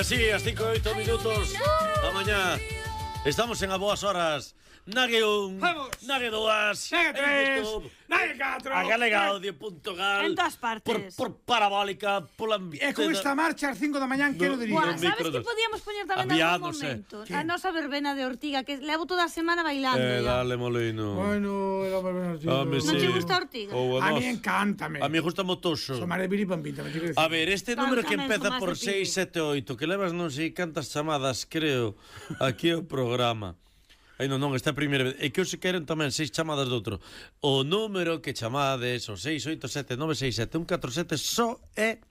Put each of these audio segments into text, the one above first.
Así, as 5 e 8 minutos da mañá. Estamos en a boas horas. Nague un, nague dúas, nague tres, nague catro, a galegaaudio.gal. En todas partes. Por parabólica, pola... E con esta marcha ás 5 da mañán, quero diría. Buah, sabes que podíamos poñer tamén en algún momento? A nosa verbena de Ortiga, que levo toda a semana bailando. Dale, Molino. Bueno, era verbena de Ortiga. Non te gusta Ortiga? A mí encántame. A mí gusta motoso. Somare biripampita, me digo. A ver, este número que empeza por 678, que levas non sei cantas chamadas, creo, aquí o programa. Ai, non, esta é a primeira vez. E que os queren tamén 6 chamadas de outro. O número que chamades, o 687-967-147, só é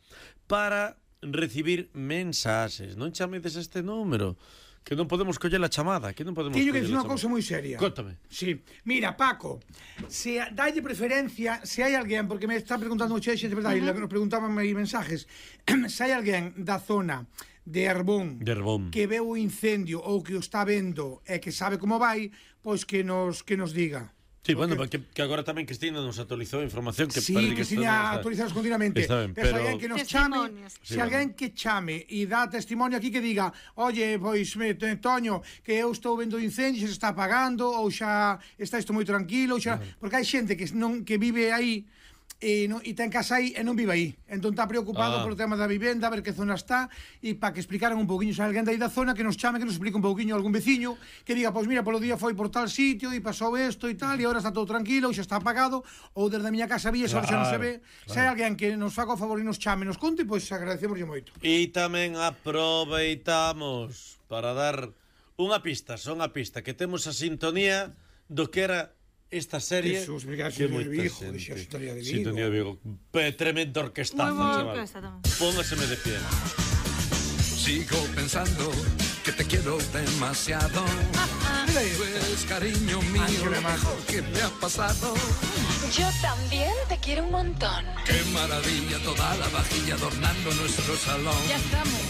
para recibir mensaxes. Non chamedes este número, que non podemos coller a chamada, que non podemos. Teño que dicir unha cousa moi seria. Cóntame. Sí. Mira, Paco, se dalle preferencia, se hai alguén, porque me está preguntando o xente, verdade, nos preguntaban aí mensajes, se hai alguén da zona de Arbón que veu o incendio ou que o está vendo e que sabe como vai, pois que nos diga. Sí, bueno, que agora tamén Cristina nos actualizou a información que sí, Cristina actualizanos continuamente. Pero alguén que nos chame, se alguén que chame e dá testimonio aquí que diga, oye, pois, Toño, que eu estou vendo o incendio, xa se está apagando, ou xa está isto moi tranquilo, xa... porque hai xente que vive aí e ten casa aí e non vive aí, entón está preocupado polo tema da vivenda, a ver que zona está, e para que explicaran un pouquiño, se alguén dai da zona que nos chame, que nos explique un pouquiño algún veciño que diga, pois mira, polo día foi por tal sitio e pasou isto e tal, e agora está todo tranquilo, ou xa está apagado, ou desde a miña casa vi, xa non se ve. Se hai alguén que nos faga o favor e nos chame, nos conte, pois agradecemoslle moito. E tamén aproveitamos para dar unha pista, que temos a sintonía do que era esta serie. Jesús, mira, que de Vigo, Sintonía de Vigo. Sintonía de Vigo. Tremendo orquestazo, chaval. Póngaseme de pie. Sigo pensando que te quiero demasiado. Pues cariño mío, lo mejor que me ha pasado. Yo también te quiero un montón. Qué maravilla, toda la vajilla adornando nuestro salón. Ya estamos.